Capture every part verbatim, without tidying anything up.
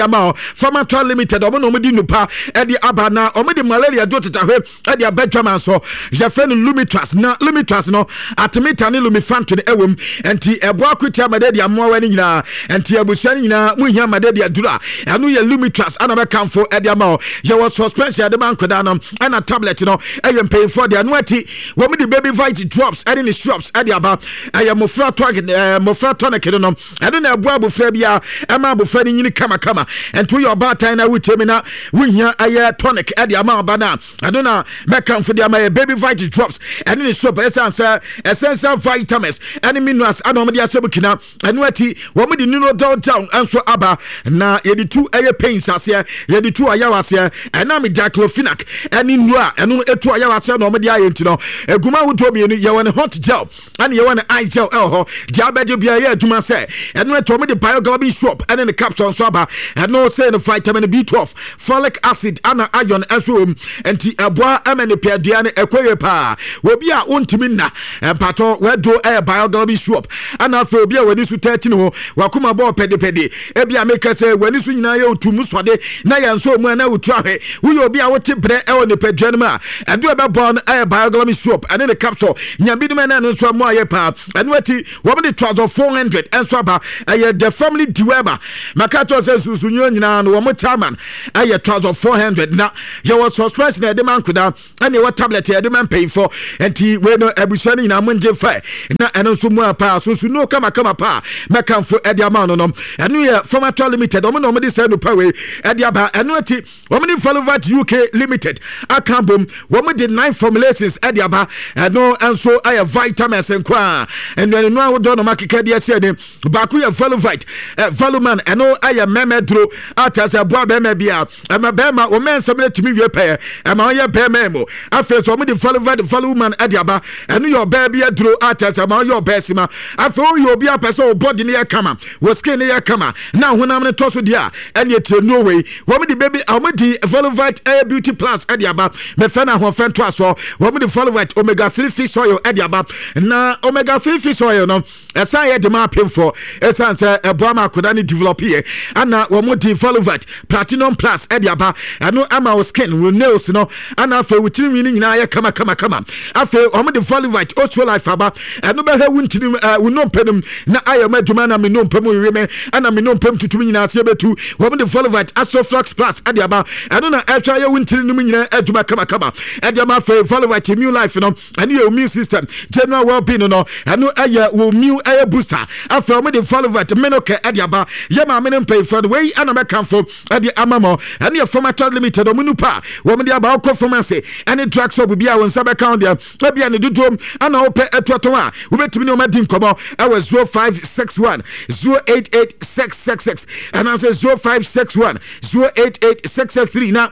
Ama Pharmatrol Limited, ɔmo na ɔmo di nupa ɛde aba na ɔmo de malaria duro tetahwɛ ɛde aba dwama so. Yɛfrɛ no Lumitras, na Lumitras no, artemether ne lumefantrine ɛwɔ mu, nti ɛboa akotia malaria mmoawa no nyinaa. Nti abusua no nyinaa muhia malaria duro a, ɛno yɛ Lumitras ana bɛkamfo ɛde ama wo. Yɛwɔ suspension yɛde ma nkwadaa no, ɛna tablet no ɛyɛ mpanyinfoɔ deɛ. Ɛno akyi, wɔn de Baby Vite drops ɛne ne syrups ɛde aba. Ɛyɛ mmɔfra tonic, ɛɛ mmɔfra tonic no no ɛno na ɛboa abofra bi a ɛma abofra no nyini kamakama. Nti woyɛ ɔbaatan na wotie mi na wohia ɛyɛ tonic ɛde ama ɔba no a, ɛno na mɛkamfo de ama yɛ Baby Vite drops ɛne ne syrup, ɛsiane sɛ essential vitamins ɛne minerals ɛna wɔn de ahyɛ mu kina. Ɛno akyi, wɔn de Ninodol gel nso aba na yɛde tu ɛyɛ pains aseɛ, yɛde tu ɔyaw aseɛ, ɛnam diclofenac ɛne nnuro a ɛno etu ɔyaw aseɛ na wɔn de ayɛ. Nti no, eguma ahodoɔ mmienu: yɛwɔ ne hot gel ɛne yɛwɔ ne ice gel ɛwɔ hɔ deɛ abɛgye bia ɛyɛ adwuma sɛ. Ɛno akyi, wɔn de Bioglobin syrup ɛne ne capsule nso aba. Ɛno sɛ no vitamin B twelve, folic acid ana iron nso wɔ mu, nti ɛboa ɛma ne pɛdua no ɛkɔ yie paa. Obi a wontumi nna, mpatɔ wɛdo ɛyɛ Bioglobin syrup. Ɛna afei, obi a w'ani so tɛɛti ne ho, wakoma bɔɔ pɛdepɛde, ebi a meka sɛ w'ani so nyinaa yɛ otu mu sɔde na yɛn nso mu ɛna wotu ahwɛ, woyɛ obi a wote brɛ ɛwɔ nipadua no mu a, ɛdo ɛbɛbɔ no ɛyɛ Bioglobin syrup ɛne ne capsule. Nya binom ɛna ɛno nso ɛmo ayɛ paa. Ɛno akyi, wɔn de Trouser four hundred ɛnso aba. Ɛyɛ the family dewormer. Maka kyerɛ sɛ nsusunyo nyinaa no, wɔn chairman ɛyɛ Trouser four hundred, na yɛwɔ suspension ɛde ma nkoda, ɛne ɛwɔ tablet yɛde ma mpanyinfoɔ. Nti wei no, abusua no nyinaa mo ngye fɛ na ɛno nso mu a paa sunsun kamakama paa mɛkamfo ɛde ama no no Ɛno yɛ Pharmatrol Limited, ɔmo na ɔmo de sɛ nupa wei ɛde aba. Ɛno akyi, wɔn de Valovat U K Limited aka bom, wɔn de nine formulations ɛde aba. Ɛno nso ɛyɛ vitamins nko a nnuane ahodoɔ na ɔmo akeka de asi ɛne baako yɛ Valovite ɛ Valuman. Ɛno ɛyɛ mɛmɛ duro ata sɛ ɛboa bɛrima bi a ɛma bɛrima wɔn mɛ nsɛm no tumi wie pɛɛ, ɛma ɔyɛ bɛrima mu. Afei nso, wɔn de Valovite Valuman ɛde aba. Ɛno yɛ ɔbaa bi aduro ata sɛ ɛma ɔyɛ ɔbaa sima. Afei, ɔyɛ obi apɛ sɛ ɔbɔdi ne yɛ kama, wɔ skin ne yɛ kama na honam no tɔ so deɛ a, ɛne etire nuo wei. Wɔn de baby, wɔn de Valovite ɛyɛ Beauty Plus ɛde aba, mɛfɛ na ahoɔfɛ ntoasoɔ. Wɔn de Valovite omega three fish oil ɛde aba, na omega three fish oil no ɛsan yɛ de ma apemfoɔ, ɛsan sɛ ɛboa ma akwadaa no develop yɛ. Ana wɔn de Valovite Platinum Plus ɛde aba. Ɛno ama wo skin, wo nails no, ana afei wo tirinwi no nyinaa yɛ kama kama kama. Afei, wɔn de Valovite Osteolife aba. Ɛno bɛhwɛ wo ntini, ɛɛ wo nnompe no na ayɛ mo adwuma, na me nnompe mu wiwi me ɛna me nnompe mu tutum nyinaa aseɛ bɛtu. Wɔn de Valovite Astroflux Plus ɛde aba. Ɛno na ɛhwɛ ayɛ wo ntini no mu nyinaa adwuma kamakama ɛde ama. Afei, Valovite Immune Life no, ɛno yɛ immune system general well-being no, ɛno ɛyɛ wo immune ɛyɛ booster. Afei, wɔn de Valovite Menocare ɛde aba. Yɛ maame no mpanyinfoɔ no, wei ɛna mɛkamfo ɛde ama mo. Ɛno yɛ Pharmatrol Limited, ɔmo nupa wɔn de aba. Ɔkɔ pharmacy ɛne drug shop bi a, wɔn nsa bɛka wɔn deɛ. Ebia ne dodoɔ ana wopɛ ɛtoɔtɔn a, wobɛtumi ne wɔn adi nkɔmɔ ɛwɔ zero five six one zero eight eight six six six anaasɛ zero five six one zero eight eight six six three, na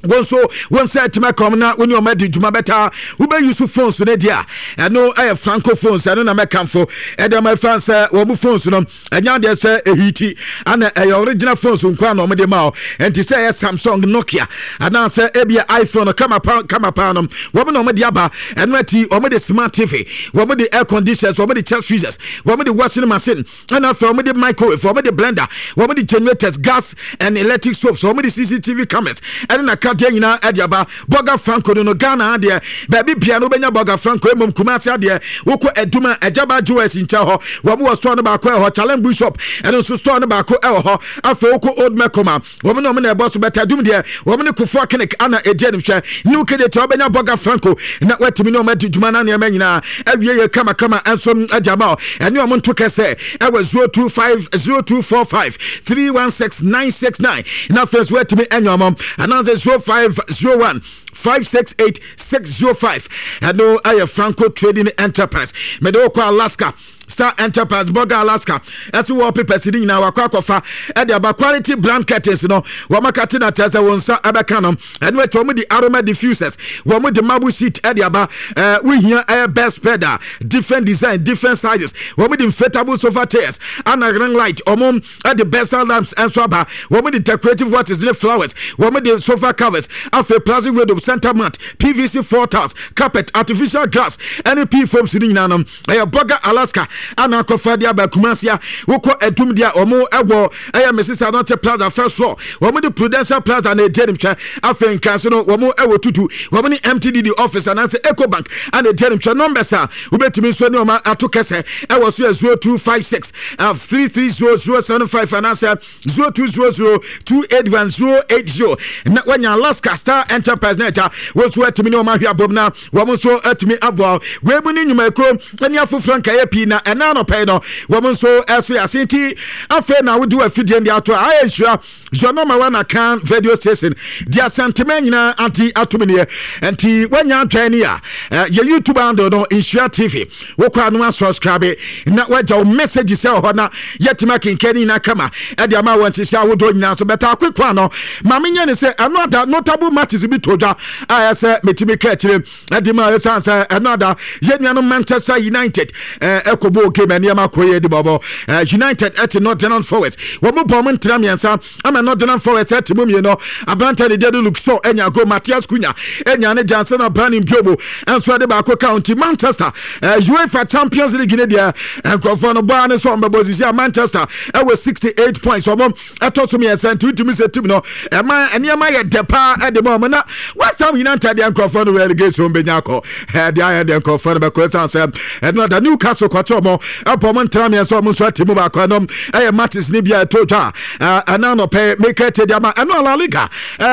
wɔn nso wɔn nsa atumi aka wɔn na wɔne wɔn adi dwuma. Bɛta wobɛyi so phones no deɛ a, ɛno ɛyɛ Franco Phones. Ɛno na mɛkamfo ɛde ama ɛfa sɛ wɔn mu phones no ɛnya adeɛ sɛ ɛheat, ana ɛyɛ original phones nko a na wɔn de ma o. Nti sɛ ɛyɛ Samsung, Nokia anaasɛ ebia iPhone kama pa kama pa no, wɔn na wɔn de aba. Ɛno akyi, wɔn de smart T V, wɔn de air conditioners, wɔn de chest freezers, wɔn de washing machine, ɛna afei wɔn de microwave, wɔn de blender, wɔn de generators, gas and electric stoves, wɔn de C C T V cameras ɛne n'akadeɛ nyinaa ɛde aba. Bɔga Franco no no Ghana adeɛ, baabi bia no wobɛnya Bɔga Franco. Mmom Kumase adeɛ, wokɔ Aduma Agyaba Jewels nkyɛn hɔ, wɔn wɔ store no baako ɛwɔ hɔ. Challenge Bishop, ɛno nso store no baako ɛwɔ hɔ. Afei wokɔ Old Mekoma, wɔn na wɔn na ɛbɔ so bɛtɛ Adum deɛ, wɔn ne Kofoɔ Clinic ana ɛdi anim hwɛ New Kejetia. Wɔbɛnya Bɔga Franco na wɔatumi ne wɔn adi dwuma na nneɛma nyinaa awie yɛ kamakama nso agya ma ɛne wɔn nto kɛsɛ ɛwɔ zero two five zero two four five three one six nine six nine, na afei nso wɔatumi anya wɔn anaasɛ zero five zero one five six eight six zero five. Ɛno ɛyɛ Franco Trading Enterprise. Mede wokɔ Alaska Star Enterprise. Bɔga Alaska ɛso wallpapers ne nyinaa wakɔ akɔfa ɛde aba. Quality brand curtains no, wɔn akate na kyerɛ sɛ wɔn nsa ɛbɛka no. Ɛno akyi, wɔn de aroma diffusers, wɔn de marble sheet ɛde aba. ɛɛ wohia ɛyɛ bed spread a, different design, different sizes. Wɔn de inflatable sofa chairs ana ring light. Wɔn ɛde bedside lamps ɛnso aba. Wɔn de decorative waters ne flowers. Wɔn de sofa covers, afei plastic window, center mat, P V C floor tiles, carpet, artificial grass ɛne p foams ne nyinaa no, ɛyɛ Bɔga Alaska. Ana akɔfa de aba Kumasi a, wokɔ Adum deɛ, ɔmo ɛwɔ ɛyɛ Mrs Anɔte Plaza, first floor. Wɔn de Prudential Plaza na ɛdi anim hwɛ. Afei nkanso no, wɔn ɛwɔ Tutu, wɔn ne M T D D office anaasɛ Ecobank ana ɛdi anim hwɛ. Numbers a wobɛtumi nso ne ɔma ato kɛsɛ ɛwɔ so yɛ zero two five six three three zero zero seven five anaasɛ zero two zero zero two eight one zero eight zero. Na wanya Alaska Star Enterprise na agya wɔn nso atumi ne ɔma ahwɛ abom na wɔn nso atumi aboa wei mu ne nnwumakuo ne afoforɔ nkaeɛ pii. Na ɛna anɔpɛ no, wɔn nso ɛso yɛ ase. Nti afei na wode wafidie de ato a, ayɛ nhyira your number one Akan radio station di Asantema nyinaa ante atom neɛ. Nti woanya adwan ni a, yɛ YouTube handle no Nhyira T V, wokɔ ano asubscribe na woagya wo message sɛ wɔ hɔ na yɛtumi akenkan ne nyinaa kama ɛde ama wɔ nhyehyɛ ahodoɔ nyinaa so. Bɛta akwekwa no ma menyɛ ne sɛ ɛno ada notable matches bi to dwa a ɛsɛ metumi ka akyire ɛde ma. Ɛsiane sɛ ɛno ada yɛn nuanom Manchester United ɛkɔbɔ game, nneɛma kɔ yɛ de bɔbɔ. United ɛte Nottingham Forest, wɔn mu bɔ wɔn ntena mmiɛnsa ama Nottingham Forest ɛte mu mmienu. Aberante ne deɛ de Luke Shaw ɛnya go, Matheus Cunha ɛnya ne Jansen Abrani Mbeumo ɛnso ɛde baako ka. Nti Manchester UEFA Champions League ne deɛ, nkurɔfoɔ no bɔa ne sɛ ɔmbɛbɔ sisi a, Manchester ɛwɔ sixty-eight points, ɔmo ɛtɔ so mmiɛnsa. Nti wotumi sɛ team no ɛma nneɛma yɛ dɛ paa ɛde ma ɔmo. Na West Ham United deɛ, nkurɔfoɔ no relegation bɛnya akɔ ɛde ayɛ deɛ, nkurɔfoɔ no bɛkɔ. Ɛsiane sɛ ɛno ada Newcastle kɔkyɛ ɔmo ɛbɔ ɔmo ntena mmiɛnsa, ɔmo nso ate mu baako. Ɛno ɛyɛ matches ne bi a ɛtɔ dwa ɛna anɔpɛ meka tie de ama. Ɛno La Liga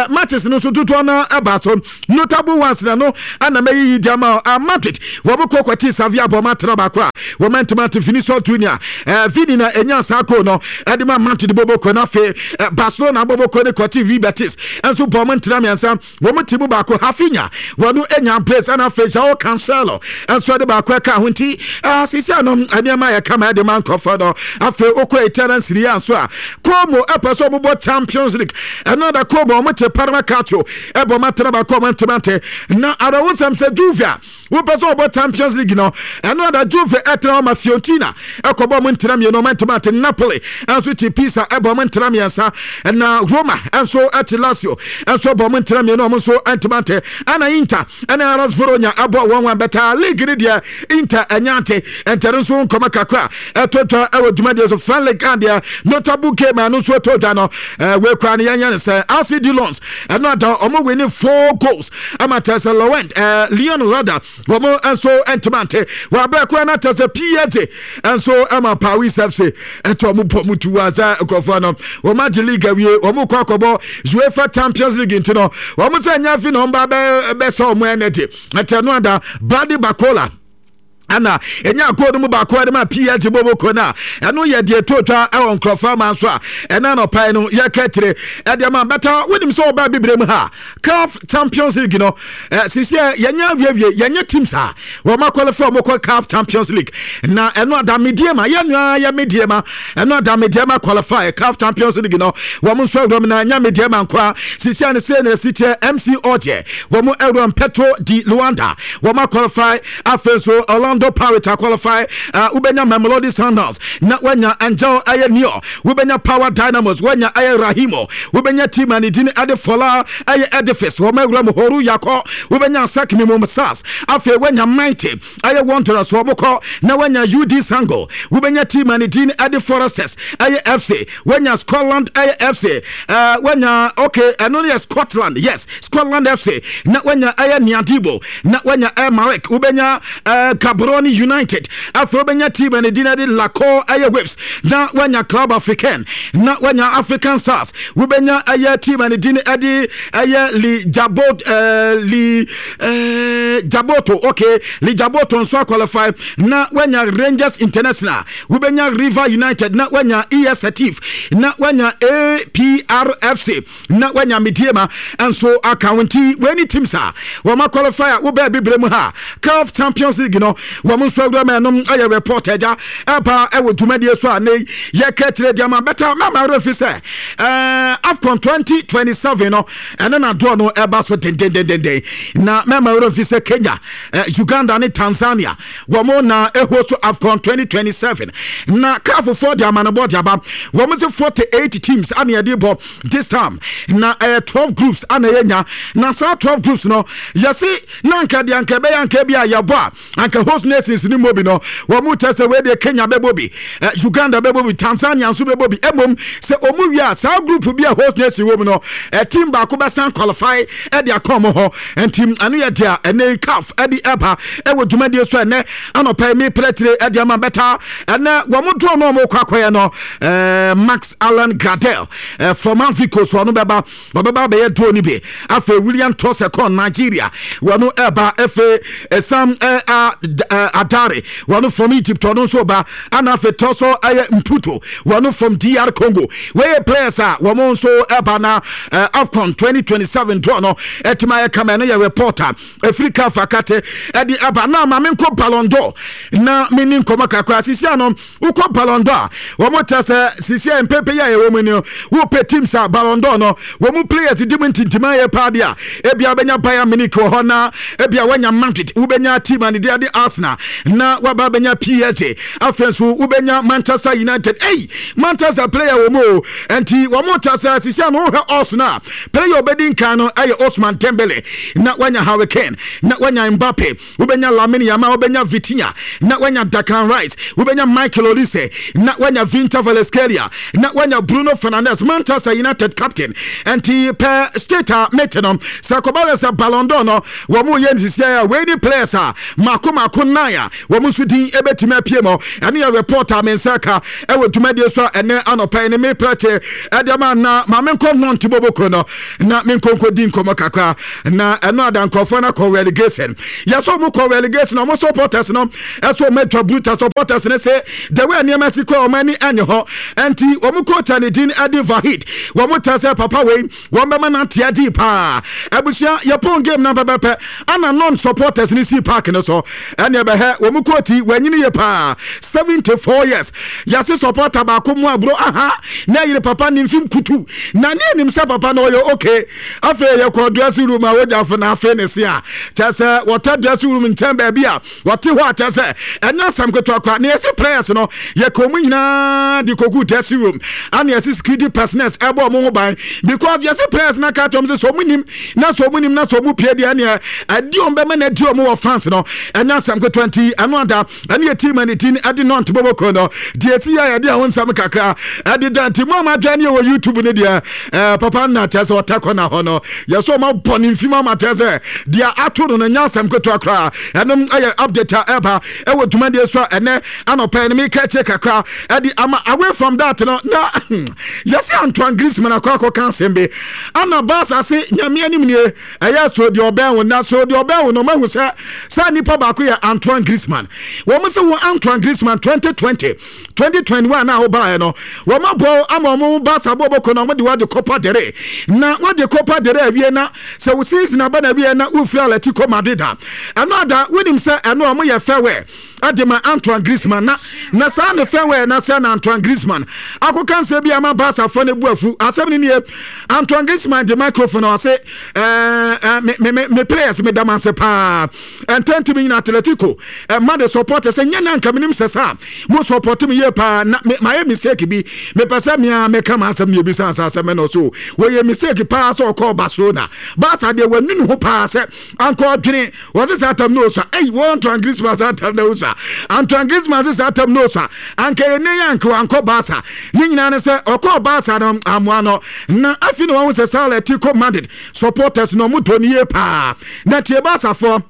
matches no nso dodoɔ no ɛba so. Notable ones na no ɛna mɛyiyi de ama. Madrid wɔn kɔ kɔte Sevilla, bɔ ɔmo atena baako a wɔn ntoma ate. Vinicius Junior, Vini na enya saa goal no ɛde ma Madrid bɔbɔ kɔ. Na afei Barcelona bɔbɔ kɔ ne kɔte Real Betis nso bɔ ɔmo ntena mmiɛnsa, wɔn ti mu baako. Raphinha wɔn enya brace, ɛna afei Joao Cancelo nso ɛde baako ɛka ho. Nti sisi ano nneɛma yɛ kama ɛde ma nkɔfɔ no. Afei okɔ Italian Serie A nso a, Como ɛpɛ sɛ ɔmobɔ Champions League. Ɛno ada Como ɔmo te Parma Calcio ɛbɔ ɔmo atena baako, ɔmo ntoma nte. Na arawosɛm sɛ Juve a wopɛ sɛ ɔbɔ Champions League no, ɛno ada Juve ɛtena ɔma Fiorentina ɛkɔbɔ ɔmo ntena mmienu, ɔmo ntoma nte. Napoli ɛnso te Pisa, ɛbɔ ɔmo ntena mmiɛnsa. Na Roma ɛnso ɛte Lazio, ɛnso ɛbɔ ɔmo ntena mmienu, ɔmo nso ntoma nte. Ɛna Inter ɛne Hellas Verona ɛbɔ wɔn wɔn bɛta league ne deɛ, Inter ɛnya ante ɛntɛre nso nkɔmɔ kakra ɛtɔ dwa ɛwɔ dwumadie so. French League adeɛ, notable game ɛno nso ɛtɔ dwa no, ɛɛ wekura no yɛnyɛ ne sɛ R C Lens ɛno ada ɔmo win four goals ama kyerɛ sɛ Lorient, ɛɛ Lyon rather, wɔn nso ntoma nte. Wɔabɛ kura no kyerɛ sɛ P S G nso ɛma Paris F C ɛtɔ ɔmo bɔ mu tu wa sɛ nkurɔfoɔ no wɔn agye league awie, wɔn kɔ akɔbɔ UEFA Champions League. Nti no wɔn sɛ nyɛ afi na wɔn ba bɛ bɛsɛ wɔn energy ɛkyɛ no ada Bradley Barcola ɛna ɛnya goal no mu baako ɛde ma P S G boboko no a, ɛno yɛ deɛ to twa ɛwɔ nkurɔfoɔ ama nso a ɛna anɔpae no yɛka akyire ɛde ama bɛta. Wonim sɛ wɔba bibire mu ha, CAF Champions League no, sisi yɛnyɛ awiewie, yɛnyɛ teams a wɔn aqualify wɔn kɔ CAF Champions League. Na ɛno ada Medeama, yɛn nua yɛ Medeama, ɛno ada Medeama qualify CAF Champions League no, wɔn nso awuram. Na nya Medeama nkoa, sisi a ne se na esi kyɛ M C Alger, wɔn awuram. Petro di Luanda wɔn aqualify. Afei nso Orlando Pirates aqualify. uh, wobɛnya Mamelodi Sundowns na wanya Angel ɛyɛ Neo, wobɛnya Power Dynamos, wanya ɛyɛ Rahimo, wobɛnya team a ne din ɛde Fola ɛyɛ Edifice, wɔn awura mu Horu Yakɔ, wobɛnya ASEC Mimosas, afei wanya Mighty ɛyɛ Wanderers, wɔn kɔ na wanya U D Sango, wobɛnya team a ne din ɛde Foresters ɛyɛ F C, wanya Scotland ɛyɛ F C, uh, wanya, okay, ɛno no yɛ Scotland, yes, Scotland F C, na wanya ɛyɛ Niadibo, na wanya ɛyɛ Marek, wobɛnya uh, Gaborone United, afei wobɛnya team a ne din ɛde Lacor ɛyɛ Waves, na wanya Club African, na wanya African Stars, wobɛnya ɛyɛ team a ne din ɛde ɛyɛ Li Jabot, uh, Li uh, Jaboto, okay, Li Jaboto nso aqualify, na wanya Rangers International, wobɛnya River United, na wanya E S Setif, na wanya A P R F C, na wanya Medeama nso aka ho. Nti wei ne teams a wɔn aqualify a wobɛɛ bibire mu ha CAF Champions League no, wɔn nso awura ma. Ɛnom ɛyɛ report agya ɛba ɛwɔ dwumadie so a ne yɛka kyerɛ di ama bɛta. Mama werɛ fi sɛ ɛɛ AFCON twenty twenty-seven no, ɛne nadoɔ no ɛba so dendendendenden. Na mɛma werɛ fi sɛ Kenya, Uganda ne Tanzania wɔn na ɛho so AFCON twenty twenty-seven. Na CAF foɔ de amanebɔ de aba, wɔn sɛ forty-eight teams ana yɛde bɔ. This time na ɛyɛ twelve groups ana yɛnya, na saa twelve groups no, yɛse na anka deɛ anka ɛbɛyɛ anka bi a yɛbɔ a, anka host nations ni mu bi no, wɔn mu kyɛ sɛ wei deɛ Kenya bɛbɔ bi, eh, Uganda bɛbɔ bi, Tanzania nso bɛbɔ bi. Emom sɛ ɔmu wie a, saa group bi a host nation wɔ mu no, eh, team baako bɛsan qualify ɛde akɔ ɔmo hɔ. Nti ɛno yɛ deɛ ɛnɛ CAF ɛde ɛba ɛwɔ dwumadie so. Ɛnɛ anɔpɛ yi mi pɛrɛtire ɛde ama bɛta. Ɛnɛ wɔn draw no, ɔmo kɔ akɔyɛ no, ɛɛ Max Allan Gradel ɛɛ from Ivory Coast, ɔno bɛba, ɔbɛba abɛyɛ draw ni bi. Afei William Troost-Ekong, Nigeria, wɔn ɛba. Afei Essam ɛɛ Hadary, wɔn from Egypt, ɔno nso ba. Ana afei Tessy ɛyɛ Mputu, wɔn from D R Congo. Wɔyɛ players a wɔn nso ɛba na ɛɛ AFCON twenty twenty-seven draw no ɛtuma ayɛ kama. Ɛno yɛ reporter efiri CAF akate ɛde aba. Na maame nkɔ Ballon d'Or na meni nkɔmɔ kakra. Sisi ano wokɔ Ballon d'Or a, wɔn kyɛ sɛ sisi a mpɛmpɛ yi a yɛwɔ mu ni, wopɛ teams a Ballon d'Or no wɔn mu players di mu ntintima yɛ paa deɛ a, ebia wobɛnya Bayern Munich wɔ hɔ, na ebia wanya Madrid, wobɛnya team a ne de ade Arsenal, na waba bɛnya P S G. Afei nso wobɛnya Manchester United. Ei, Manchester player wɔ mu o. Nti wɔn kyɛ sɛ sisi ano wohwɛ Arsenal a, player obɛdi nkan no ɛyɛ Ousmane Dembele, na wanya Harry Kane, na wanya Mbappe, wobɛnya Lamine Yamal, wobɛnya Vitinha, na wanya Declan Rice, wobɛnya Michael Olise, na wanya Khvicha Kvaratskhelia, na wanya Bruno Fernandes, Manchester United captain. Nti pɛ state a mete no sɛ kɔba sɛ sɛ Ballon d'Or no wɔn mo yɛ nsisia a, wei ni players a mako mako nine a wɔn nso din ebɛtumi apue mu. Ɛno yɛ report a me nsa ka ɛwɔ dwumadie so a ɛnɛ anɔpɛ yi ne me prɛte ɛde ama. Na maame nkɔ Nantes boboko no na me nkonko di nkɔmɔ kakra. Na ɛno ada nkurɔfoɔ no akɔ relegation. Yɛsɛ ɔmo kɔ relegation, ɔmo supporters no ɛsɛ ɔmo atwa bruta. Supporters no sɛ the way nneɛma si kɔ, ɔmo ani ɛnyɛ hɔ. Ɛnti ɔmo coach a ne din ɛde Vahid, wɔn kyerɛ sɛ papa wei wɔn bɛma no ate agye paa. Abusua, yɛpɔn game na pɛpɛpɛ ana Nantes supporters no si park no so ɛne ɛbɛhɛ wɔn coach. Wɔanyini yɛ paa, seventy four years. Yɛse supporter baako mu aburo aha na ɛyere papa ne mfim kutu na ne anim sɛ papa no ɔyɛ okay. Afei yɛkɔ dressing room a, wogyafo na afei ne se a kyerɛ sɛ wɔtɛ dressing room nkyɛn baabi a wɔte hɔ a, kyerɛ sɛ ɛnyɛ asɛm ketewa koraa. Na yɛse players no, yɛkɔ mu nyinaa de kɔgu dressing room ana yɛse security personnel ɛbɔ ɔmo ho ban, because yɛse players no aka kyerɛ ɔmo sɛ sɛ ɔmo nim na sɛ ɔmo nim na sɛ ɔmo pie deɛ, ɛneɛ ɛdi ɔmo bɛma na ɛdi ɔmo wɔ fans no, ɛnyɛ asɛm ketewa. Nti ɛno ada ɛne yɛ team ne din ɛde Nantes bɔbɔkɔ no deɛ esi yɛ yɛde ɛho nsɛm kakra ɛde da. Nti mo a mo adwa ne yɛ wɔ YouTube ne deɛ, ɛɛ papa nna kyerɛ sɛ ɔtɛ kɔ na hɔ no, yɛsɛ ɔmo abɔ ne mfim ama kyerɛ sɛ deɛ ato no no nyɛ asɛm ketewa koraa. Ɛnom ɛyɛ update a ɛba ɛwɔ dwumadie so a ɛnɛ anɔpɛ no meka akyire kakra ɛde ama. Away from that no, na yɛsɛ Antoine Griezmann akɔ akɔka asɛm bi ana Barca se Nyame anim nie, ɛyɛ so deɛ ɔbɛn wo na so deɛ ɔbɛn wo no, ɔmahu sɛ saa nipa baako yɛ Antoine Griezmann. Wɔn sɛ wɔn Antoine Griezmann, twenty twenty, twenty twenty-one a wɔbaeɛ no, wɔn abɔ ama wɔn Barca bɔ bɔkɔ na wɔn de wɔde Copa del Rey, na wɔde Copa del Rey awie, na sɛ wo season aba na awie na wofiri Atletico Madrid a, ɛno ada wonim sɛ ɛno a wɔyɛ farewell ɛde ma Antoine Griezmann. na na saa ne farewell na sɛ na Antoine Griezmann akɔka nsɛm bi ama Barcafoɔ no bu afu. Asɛm no nie: Antoine Griezmann de microphone a ɔse, ɛɛ ɛɛ me me me players, me dam ase paa, ɛntɛntɛm nyina Atletico ɛma de support sɛ nyɛ na nka menim sɛ saa mo support me yie paa, na me mayɛ mistake bi, mepɛ sɛ mea meka ma asɛm ne ebisa asa asɛm no so. Wɔyɛ mistake paa sɛ ɔkɔɔ Barcelona. Barca deɛ, wɔanu ne ho paa sɛ anka ɔdwene wɔse saa tam no osa. Ei, wɔn Antoine Griezmann, saa tam no osa. Antoine Griezmann se saa tam no osa, anka yɛ ne yɛ anka wankɔ Barca. Ne nyinaa ne sɛ ɔkɔɔ Barca no amoa no, na afei na wɔn sɛ saa Atletico Madrid supporters na ɔmo dɔ ne yie paa. Na tie Barcafoɔ,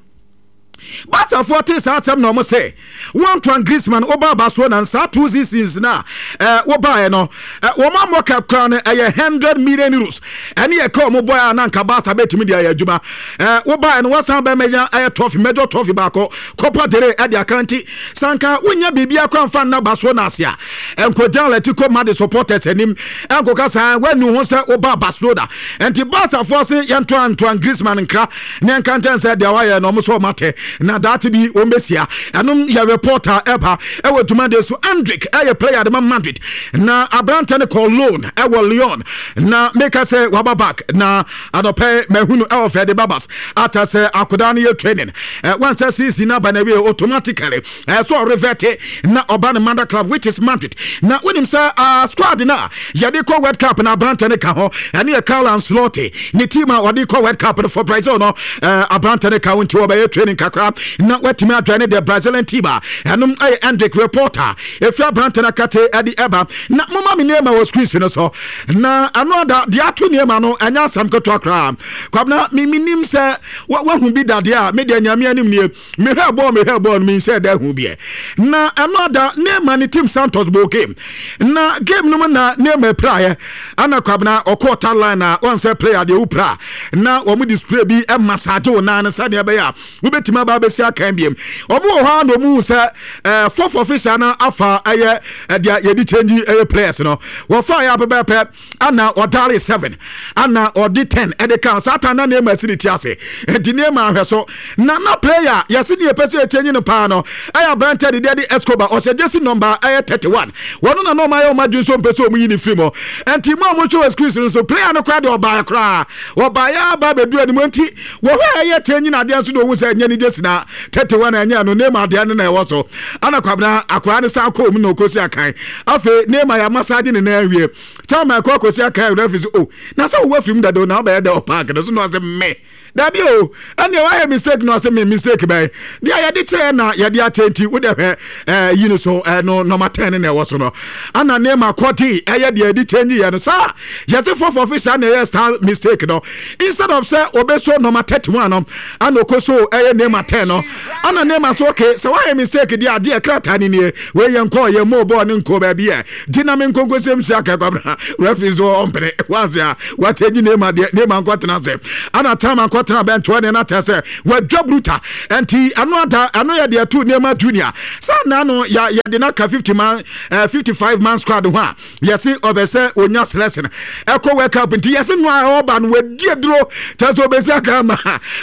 Barcafoɔ te saa asɛm na ɔmo sɛ wɔn Antoine Griezmann, woba Barcelona nsaa two seasons na ɛɛ wobaeɛ no, wɔn amɔ cap koraa no ɛyɛ hundred million euros. Ɛne yɛ ka ɔmo bɔɛ a, na nka Barca bɛtumi de ayɛ adwuma. Ɛɛ wobaeɛ no, wɔsan bɛmɛnya ɛyɛ trophy, major trophy baako, Copa del Rey ɛde aka. Nti sanka wonya biribi akɔ amfa nna Barcelona ase a, nkogya Atletico Madrid supporters anim ɛnkɔka saa wanu ho sɛ woba Barcelona. Nti Barcafoɔ se yɛnto Antoine Griezmann nkra ne ɛnka nkyɛn sɛ deɛ wayɛ no, ɔmo sɛ ɔmo atɛ. Na daate bi wɔn bɛsia. Ɛnom yɛ reporter ɛba ɛwɔ dwumadeɛ so. Endrick ɛyɛ player de ma Madrid, na aberante no kɔ loan ɛwɔ Lyon, na meka sɛ waba back na adɔpɛ mahunu ɛwɔ fɛde babas ata sɛ akodaa no yɛ training. Wansɛ season no aba na wie, automatically ɛɛ so ɔrevert na ɔba ne mother club, which is Madrid. Na wonim sɛ uh, squad no a yɛde kɔ World Cup na aberante no ka ho. Ɛne yɛ Carlo Ancelotti ne team a wɔde kɔ World Cup no for Brazil no, uh, aberante no ka ho, nti wɔbɛyɛ training kakra na watumi adwane the Brazilian team a ɛnom ɛyɛ Endrick. Reporter ɛfiri aberante no akate ɛde ɛba na moma me nneɛma wɔ screens no so. Na ɛno ada deɛ ato nneɛma no ɛnyɛ asɛm ketewa koraa. Kwabena, menim sɛ wahu bi dadeɛ a medeɛ Nyame anim nie, mehwɛ bɔɔl mehwɛ bɔɔl no, menhyɛ da hu biɛ. Na ɛno ada Neymar ne team Santos bɔ game, na game no mu na Neymar praeɛ ana Kwabena ɔkɔɔ touch line a wɔn sɛ player deɛ wopra na wɔn display bi massage wo nan no sɛdeɛ ɛbɛyɛ a wobɛtumi aba abɛsi akan biem. Wɔn wɔ hɔ a na wɔn sɛ ɛɛ fourth official no afa ɛyɛ ɛdeɛ yɛde change ɛyɛ players no. Wɔfa yɛ apɛpɛpɛ ana ɔdare seven ana ɔde ten ɛde kan saa tan na Neymar si ne ti ase, nti Neymar ahwɛ so na na player yɛsi ne yɛpɛ sɛ yɛkyɛnyi no paa no ɛyɛ aberante de deɛ de Escobar, ɔhyɛ jersey number ɛyɛ thirty one. Wɔn na na ɔmo ayɛ ɔmo adwene so mpɛ sɛ ɔmo yi ne firi mu. Nti mu a mo twɛ wɔ screen no so, player no koraa deɛ ɔbaa koraa, ɔbaa aba abɛdu anim, nti wɔhwɛ a ɛyɛ kyɛnyi na adeɛ nso de ohun sɛ ɛnyɛ ne jersey na thirty one ɛnyɛ no, Neymar adeɛ no na ɛwɔ so. Ana Kwabena akwaraa ne san kɔɔ mu na okosi akan. Afei Neymar yɛ amassage ne nan awie, chairman kɔ akɔsi akan, referee sɛ, "O, na sɛ wowɔ fim dado na wobɛyɛ dɛ wɔ park no so?" Na ɔsɛ, "Me dabi o, ɛnneɛ wayɛ mistake." Na ɔsɛ, "Me mistake bɛyɛ deɛ yɛde kyerɛ na yɛde akyɛ." Nti wode hwɛ ɛɛ yi no so, ɛno number ten na ɛwɔ so no ana nneɛma kɔte ɛyɛ deɛ yɛde change yɛ no saa. Yɛsɛ fourth official na ɛyɛ star mistake no. Instead of sɛ obeso number thirty one no, ana oko so ɛyɛ nneɛma ten no. Ana nneɛma so, okay, sɛ wayɛ mistake deɛ, adeɛ krataa ni nie, wei yɛ nkɔ yɛ mo bɔɔl ne nkɔ baabi yɛ gyina me nkonkosɛm si aka. Kwabena, referee so ɔmpene wansi a watɛgyi nneɛma deɛ nneɛma nkɔtena ase ana tama nkɔtena bɛntoɔ ne na tɛ sɛ wadwa bruta. Nti ɛno ada ɛno yɛ deɛ to nneɛma junior saa na no yɛ yɛde n'aka fifty man ɛɛ fifty five man squad ho a yɛsi ɔbɛ sɛ onya selection ɛkɔ World Cup. Nti yɛsi no a ɔba no wadi aduro kyerɛ sɛ ɔbɛsi aka ama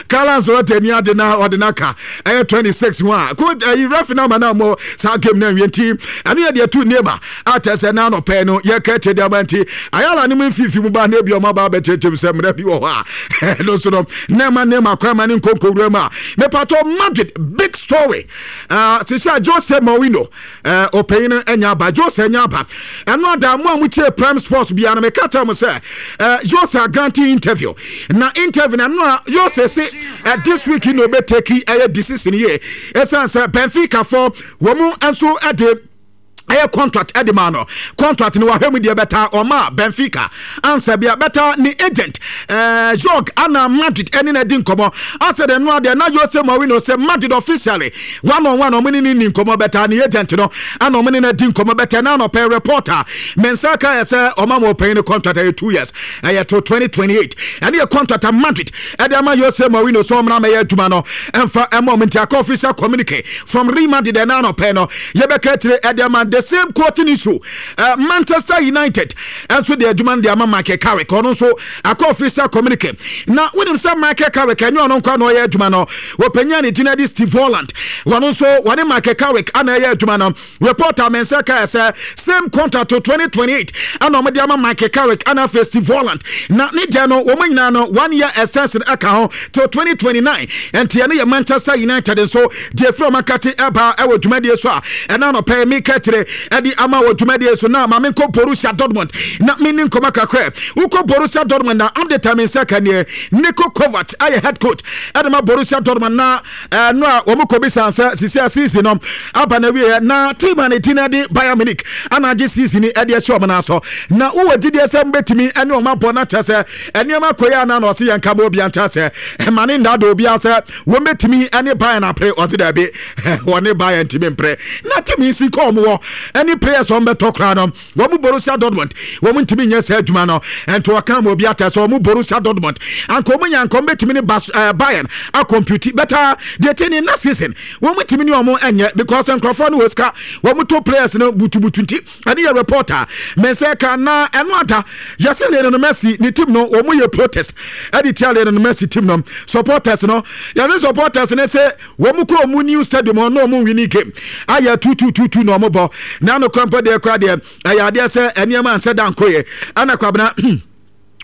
Carlo Ancelotti ani ade na ɔde n'aka ɛyɛ twenty six ho a ko ɛyi referee na ama na mo saa game na nwie. Nti ɛno yɛ deɛ to nneɛma a kyerɛ sɛ na anɔpɛ no yɛka kyerɛ deɛ ama. Nti ayala ne mu mfifi mu ba na ebi ɔmo aba abɛkyerɛkyerɛ mu sɛ mmerɛ bi wɔ hɔ a ɛno nso no nneɛma nneɛma kwan ma ne nkonkowura mu a mepatɔ Madrid big story. uh, sisi a Jose Mourinho ɔpanyin no anya aba, Jose anya aba. Ɛno ada mo a motie Prime Sports biara no, meka kyerɛ mo sɛ uh, Jose agrant interview, na interview na ɛno a Jose se uh, this week na obɛtake ɛyɛ decision yie, ɛsiane sɛ Benfica fɔ wɔn nso ɛde ɛyɛ contract ɛde ma no. Contract no wahwɛ mu deɛ bɛta ɔma Benfica ansa bia bɛta ne agent ɛɛ Jorge ana Madrid ɛne na di nkɔmɔ asɛ de no adeɛ na Jose Mourinho sɛ Madrid officially one on one ɔmo ne ne ni nkɔmɔ, bɛta ne agent no ana ɔmo ne na di nkɔmɔ bɛtɛ. Na anɔpɛ reporter mensa ka yɛ sɛ ɔma ma ɔpanyin no contract ɛyɛ two years, ɛyɛ to twenty twenty-eight. Ɛne yɛ contract a Madrid ɛde ama Jose Mourinho sɛ ɔmra mɛyɛ adwuma no ɛmfa ɛma ɔmo. Nti aka official communique from Real Madrid ɛna anɔpɛ no yɛbɛka kyerɛ ɛde ama. The same quoting issue, uh, Manchester United ɛnso de adwuma no de ama Michael Carrick. Ɔno nso akɔ official communique. Na wonim sɛ Michael Carrick ɛnyɛ ɔno nkwa na ɔyɛ adwuma no, wɔpanya ne din de Steve Holland. Wɔno nso wɔne Michael Carrick ana ɛyɛ adwuma no. Reporter mɛnsa kaa sɛ same contract to twenty twenty-eight ana ɔmode ama Michael Carrick ana afei Steve Holland, na ne deɛ no wɔn nyinaa no one year extension ɛka ho till twenty twenty-nine. Ɛnti ɛno yɛ Manchester United nso deɛ firi ɔmo akate ɛba ɛwɔ dwumadie so a ɛna anɔpɛ meka kyerɛ ɛde ama wɔ dwumadie so. Na maame nkɔ Borussia Dortmund na menni nkɔmɔ kakra. Wokɔ Borussia Dortmund na update a me nsa ka neɛ, Niko Kovac ayɛ head coach ɛde ma Borussia Dortmund, na ɛno a wɔn kɔ bisa sɛ sisi a season no aba na wieɛ na team a ne ti na de Bayern Munich ana agye season ni ɛde ɛhyɛ wɔn nan so, na wowɔ gyidie sɛ mbɛtumi ɛne wɔn abɔ na kyerɛ sɛ nneɛma kɔ yi ana? Na ɔse yɛn ka ma obi ankyerɛ sɛ ɛma ne nda do obi sɛ wɔn bɛtumi ɛne Bayern apere. Ɔse daabi, wɔne Bayern ntumi mpere na team yi si kɔ wɔn wɔ Ɛne players wɔn bɛtɔ koraa no, wɔn Borussia Dortmund wɔn ntumi nyɛ saa adwuma no. Ɛnti wɔka ma obi ata sɛ wɔn Borussia Dortmund anka wɔn nya nka wɔn bɛtumi ne Bas ɛɛ Bayern acompete better. Deɛ te ne na season wɔn ntumi ne wɔn ɛnyɛ because nkurɔfoɔ no wɔ sika, wɔn to players no butubutu. Nti ɛne yɛ reporter mɛnsɛ ka na ɛno ada yɛsɛ Lionel Messi ne team no, wɔn yɛ protest ɛde tia Lionel Messi team no supporters no. Yɛsɛ supporters no sɛ wɔn kɔ wɔn new stadium hɔ na wɔn winning game ayɛ two two two two na wɔn bɔ na ano kora mpo deɛ kora deɛ ɛyɛ adeɛ sɛ nneɛma ansɛ da nkoyɛ. Ɛna Kwabena,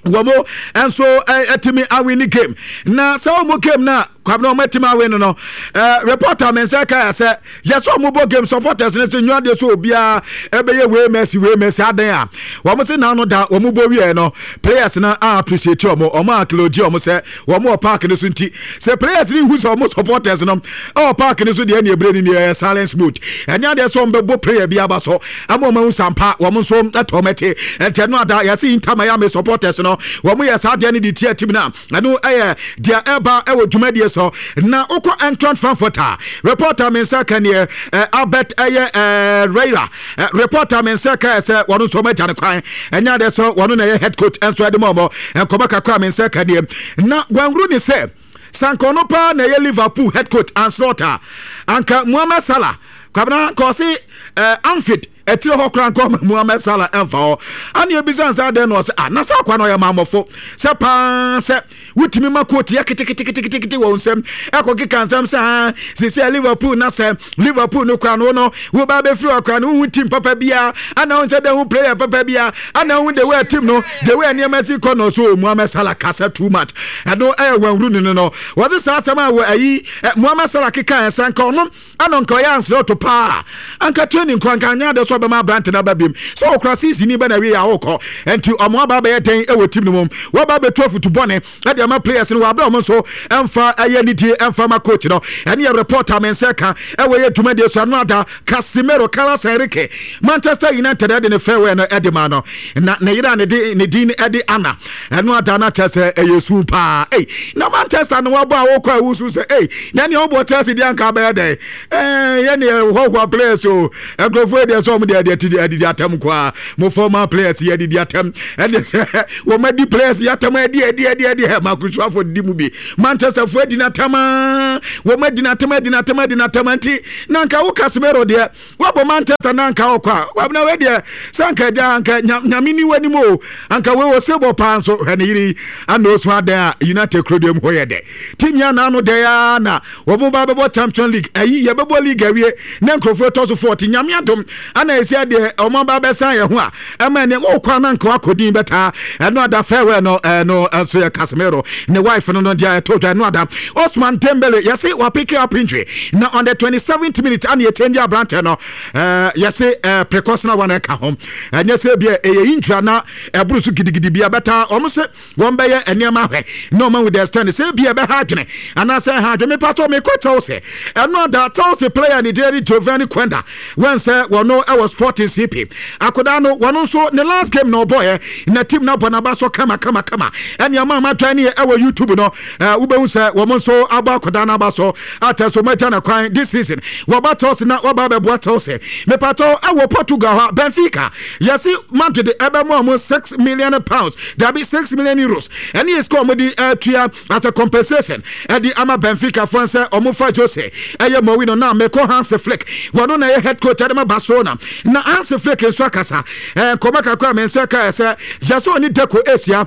wɔn nso ɛtumi awin game na sɛ wɔn game na Kwabena wɔn atumi awin no no ɛɛ reporter mi nsa ka yɛ sɛ yɛsɛ wɔn bɔ game, supporters no sɛ nyua deɛ so obiara ɛbɛyɛ wei Messi, wei Messi adan a wɔn sɛ n'ano da wɔn bɔ wie no, players no a appreciate wɔn, wɔn a acknowledge wɔn sɛ wɔn wɔ park no so. Nti sɛ players no hu sɛ wɔn supporters no ɛwɔ park no so deɛ, ɛna ebire ni ɛyɛ silence mode. Ɛnyɛ adeɛ sɛ wɔn bɛbɔ player bi aba so ama wɔn ahu sampa wɔn nso ɛtɔ wɔn ɛte. Ɛntɛ no ada yɛsɛ Inter Miami supporters no, wɔn yɛ saa adeɛ no de tia team na ɛno ɛyɛ deɛ ɛba ɛwɔ dwumadie so. Na wokɔ Eintracht Frankfurt a, reporter mi nsa ka neɛ Albert ɛyɛ ɛɛ Riera. Reporter mi nsa ka sɛ wɔn nso wɔn agya ne kwan. Ɛnyɛ adeɛ sɛ wɔn na ɛyɛ head coach ɛnso ɛde ma wɔn. Nkɔmɔ kakra mi nsa ka neɛ na wɔnwuru ne sɛ sanka ɔno paa na ɛyɛ Liverpool head coach Arne Slot a, anka Mohamed Salah, Kwabena, kɔɔse ɛɛ Anfield ɛtire hɔ koraa nkɔ Mohamed Salah ɛmfa hɔ. Ane ebisa nsa adɛn na ɔsɛ ah, na sɛ akwa no ɔyɛ maamɔfo sɛ paa sɛ wotumi ma coach yɛ keteketeketekete wɔ nsɛm ɛkɔ keka nsɛm sɛ ah, sisi a Liverpool na sɛ Liverpool no kora no no woba bɛfiri hɔ kora no, wohu team papa biara ana wohu sɛ dɛ hu player papa biara ana wohu the way team no, the way nneɛma si kɔ no so. Mohamed Salah kasa too much. Ɛno ɛyɛ wɔn no no wɔde saa asɛm a wɔ ayi Mohamed Salah keka ɛsɛ nka ɔno ana nka ɔyɛ ansere ɔto paa anka training kora nka anya ade so ɔbɛma aberante no aba biom sɛ ɔkora season ni bɛ na wie a wokɔ. Nti ɔmo aba bɛyɛ dɛn ɛwɔ team no mu? Wɔba bɛtu afutu bɔne ɛde ama players no wɔ abɛ ɔmo nso ɛmfa ɛyɛ nidie ɛmfa ma coach no. Ɛne yɛ reporter me nsa ka ɛwɔ yɛ dwumadie so. Ano ada Casemiro, Carlos Enrique, Manchester United ɛde ne farewell no ɛde ma no na ne yere a ne de ne din ɛde Ana. Ɛno ada no akyɛ sɛ ɛyɛ su paa. Ei, na Manchester no wɔbɔ a wokɔ a wusu sɛ ei, na nea wɔbɔ Chelsea deɛ anka bɛyɛ dɛn? Ɛɛ yɛ ne hɔhoa players o. Nkurɔfoɔ deɛ sɛ ɔmo deɛ deɛ ti adidi atɛm koraa mo former players yɛ adidi atɛm. Ɛdeɛ sɛ wɔn adi players yɛ atɛm adi adi adi adi ɛ Marcus Rashford di mu bi, Manchester fo adi n'atɛm aa, wɔn adi n'atɛm, adi n'atɛm, adi n'atɛm. Nti na nka wo Casemiro deɛ wabɔ Manchester na nka ɔkɔ a, wabena wei deɛ sɛ anka agya anka Nyame ni w'anim o, anka wei wɔ sebɔ paa nso. Hwɛ ne yere yi ana osu adan a United kuro deɛ mu hɔ yɛ dɛ team yɛ anaano dɛ ya na wɔn ba bɛbɔ Champion League ayi yɛbɛbɔ league awie na nkurɔfoɔ ɛtɔ so forty. Nyame adom ana esi adeɛ wɔn ba bɛsan yɛn ho a ɛma ɛnɛ wɔkɔ ana nka wakɔdin bɛtaa. Ɛno ada farewell no, ɛno nso yɛ Casemiro ne wife no no deɛ ɛtɔ dwa. Ɛno ada Osman Dembele yɛse wapick up injury na on the twenty seventh minute ana yɛkyɛn aberantɛ no. ɛɛ yɛse ɛɛ precautionary one ɛka ho. Ɛnyɛ sɛ bi ɛyɛ injury ana ɛboro so gidigidi bi ɛbɛta. Wɔn sɛ wɔn bɛyɛ nneɛma ahwɛ na wɔn with the extend sɛ bi ɛbɛha adwene anaasɛ ɛha adwene. Mepatɔ mekɔ Chelsea. Ɛno ada Chelsea player ne deɛ Giovanni Quenda wɔn sɛ wɔn ɛwɔ Sporting C P akodaa no, wɔn nso ne last game na ɔbɔɛ na team na bɔ n'aba so kama kama kama. Ɛne ama ama dwan ne ɛwɔ YouTube no ɛɛ wobɛhu sɛ wɔn nso abɔ akodaa n'aba so atɛ so wɔn agya na kwan this season wɔba Chelsea na wɔba abɛboa Chelsea. Mepatɔ ɛwɔ Portugal hɔ, Benfica yɛsi Madrid ɛbɛmo ɔmo six million pounds, dabi, six million euros. Ɛne yɛ sika ɔmo de ɛtua as a compensation ɛde ama Benfica fo sɛ ɔmo fa Jose ɛyɛ Mourinho. Na mekɔ Hans Flick, wɔno na ɛyɛ head coach ɛde ma Barcelona. Na Hans Flick nso akasa ɛɛ nkɔmɔ kakra a mɛ nsa ka sɛ yɛsɛ ɔne Deco esia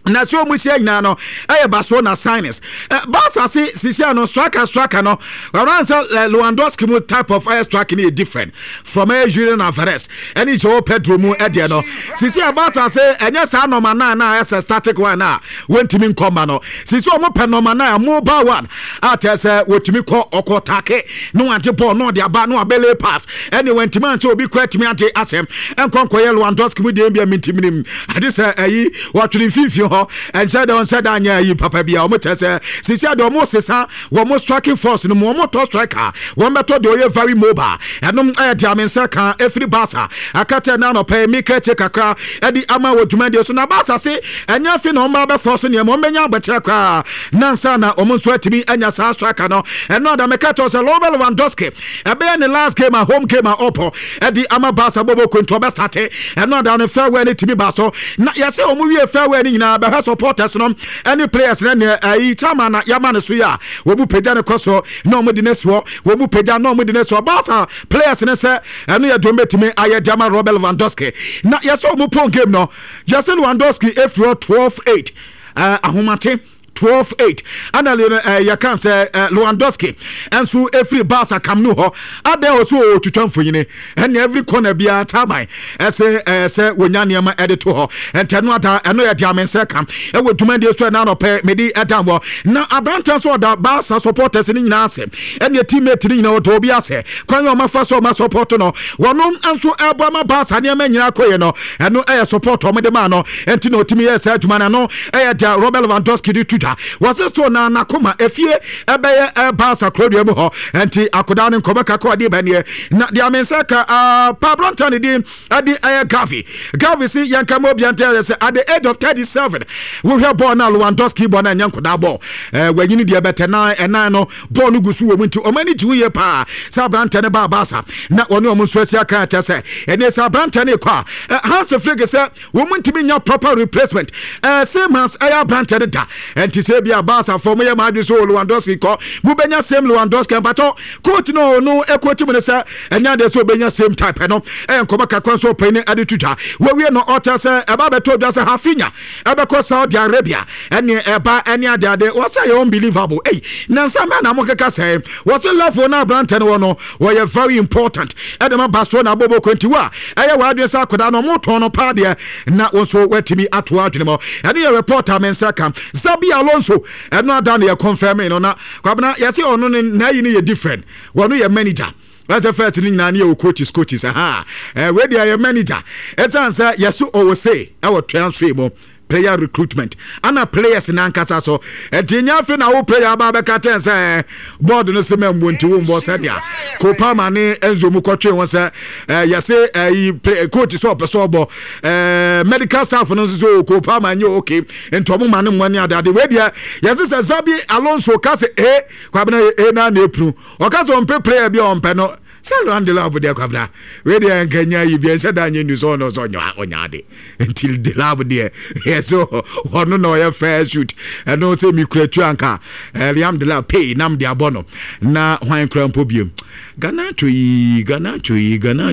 na sɛ ɔmu hyia nyinaa no ɛyɛ Barcelona signings. Barca se sisia no striker striker no ɔran sɛ Lewandowski mu type of ɛyɛ striker no yɛ different from ɛyɛ Julian Alvarez ɛne Joao Pedro mu ɛdeɛ no. Sisi a Barca se ɛnyɛ saa number nine na ɛsɛ static one a wɔntumi nkɔ ma no. Sisi ɔmo pɛ number nine a mobile one a kyerɛ sɛ wɔtumi kɔ ɔkɔ take na wagye ball na ɔde aba na wabɛlay pass. Ɛne wɔntumi ankyɛ obi kɔ atumi agye asɛm ɛnkɔ nkɔyɛ Lewandowski mu deɛ bi a mintiminim ade sɛ ɛyi wɔtwere mfimfini. abɔnten hɔ ɛnhyɛ dɛ ɔnhyɛ dɛ anyɛ ayi papa bi a ɔmo kyerɛ sɛ sisi ade ɔmo sesa wɔn striking force no mu, wɔn tɔ striker, wɔn bɛtɔ deɛ ɔyɛ very mobile. Ɛnom ɛyɛ deɛ ame nsa ka efiri Barca akatɛ na anɔpɛ mi kɛkyɛ kakra ɛde ama wɔ dwumadie so. Na Barca se ɛnyɛ afi na wɔn ba bɛfɔ so nneɛma, wɔn bɛnya abɛkyerɛ koraa nansa na wɔn nso atumi anya saa striker no. Ɛno ada mɛka kyerɛ sɛ Robert Lewandowski ɛbɛyɛ ne last game a home game a ɔpɔ ɛde ama Barca bɔbɔ konto ɔbɛstart. Ɛno ada no farewell ne tumi ba so na yɛsɛ wɔn wie farewell ne nyinaa bɛhwɛ supporters no ɛne players no ne ɛyi chairman na yɛama ne so yi a wɔn mu pagya ne kɔ so na wɔn de ne soɔ, wɔn mu pagya na wɔn de ne soɔ. Barca players ne sɛ ɛno yɛ dɔm bɛtumi ayɛ de ama Robert Lewandowski. Na yɛsɛ wɔn pɔn game no, yɛsɛ Lewandowski efiri hɔ twelve eight, ɛɛ ahomate twelve eight ana uh, yɛka sɛ uh, Lewandowski ɛnso ɛfiri Barca Camp Nou hɔ adɛn wɔ so ɔtwitwa mfonyini ɛne every corner biara chairman ɛsɛ ɛɛ sɛ wɔnya nneɛma ɛde to hɔ. Ɛntɛ ada ɛno yɛ deɛ amensɛ ka ɛwɔ dwumadie so ɛna anɔpɛ mede ɛda wɔ. Na aberantɛ nso ɔda Barca supporters no nyinaa ase ɛne teammate no nyinaa, ɔdɔ obi ase kwan yɛ ɔma fa so ɔma support no. Wɔnom nso ɛbɔ ama Barca nneɛma nyinaa kɔyɛ no, ɛno ɛyɛ support ɔmo de maa no, ɛnti na ɔtumi yɛ saa adwuma no. No ɛyɛ deɛ Robert Lewandowski de to dwa. Wɔse so na nakoma efie ɛbɛyɛ ɛbarca kurodua mu hɔ, ɛnti akodaa no nkɔmɔ kakra ɔde bɛneɛ. Na deɛ amensa ka pa aberantɛ ne din ɛde ɛyɛ Gavi. Gavi si yɛnka ma obia ntɛ sɛ at the age of thirty-seven, wohwɛ bɔɔl no a Lewandowski bɔ no, ɛnyɛ nkɔdaa bɔɔl. ɛɛ wanyini deɛ bɛtɛ nan ɛnan no bɔɔl no gu so wɔ mu, nti ɔmo ani gye ho yie paa sɛ aberantɛ no baa Barca na wɔne ɔmo nso asi aka kyɛ sɛ ɛne sɛ aberantɛ no kɔ a Hans Flick sɛ wɔn ntumi nya proper replacement ɛɛ same as ɛyɛ aberantɛ no da. Ɛnti sɛ bi a Barca fɔ mo yɛ maa adwi so Lewandowski kɔ, mo bɛnya same Lewandowski mpatɔ coach no no ɛkɔkyi mu no sɛ ɛnya deɛ sɛ ɔbɛnya same type no. Ɛyɛ nkɔmɔ kakra nso ɔpɛni ɛde to dwa. Wɔwie no ɔkyɛ sɛ ɛba bɛtɔ dwa sɛ Raphinha ɛbɛkɔ Saudi Arabia ɛne ɛba ɛne adeade. Wɔsɛ yɛ unbelievable. Ei, nansa mɛ na mo keka sɛ wɔsɛ level no aberantɛ no wɔ no, wɔyɛ very important ɛde ma Barcelona abɔbɔ kwanti wo a ɛyɛ wɔadwene sɛ akwadaa no ɔmo no paa deɛ na wɔn nso wɔatumi ato adwene mu. Ɛne yɛ report a me nsa ka. Xabi Alonso, ɛno ada no yɛ confirm no na Kwabena yɛsɛ ɔno ne n'ayi no yɛ different. Wɔno yɛ manager. Wɔsɛ first no nyinaa ne yɛwɔ coaches coaches aha, ɛɛ wei deɛ yɛ manager, ɛsiane sɛ yɛso ɔwɔ se ɛwɔ transfer mu, player recruitment ana players nankasa so. Ɛnti nyɛ afe na wo player aba bɛka kyɛn sɛ board no sɛ mɛmbo nti wo mbɔ, sɛdeɛ Kopama ne Enzo mu kɔtwe ho sɛ yɛse ɛyi coach sɛ ɔpɛ sɛ ɔbɔ, medical staff no nso sɛ Kopama nyɛ okay nti ɔmo ma ne mmoa ne adeade. Wei deɛ yɛse sɛ Xabi Alonso ka sɛ e Kwabena e na na epunu ɔka sɛ ɔmpɛ player bi a ɔmpɛ no sɛ Liam Delap deɛ, Kwabena, wei deɛ nka nya yi bi ɛnhyɛ da nyɛ nu sɛ ɔno sɛ ɔnya ɔnya ade. Nti Delap deɛ yɛ sɛ ɔno na ɔyɛ fair shoot. Ɛno sɛ mikura tu anka Liam Delap pay nam de abɔ no na hwan kura mpo biem. Garnacho yi, Garnacho yi, Garnacho.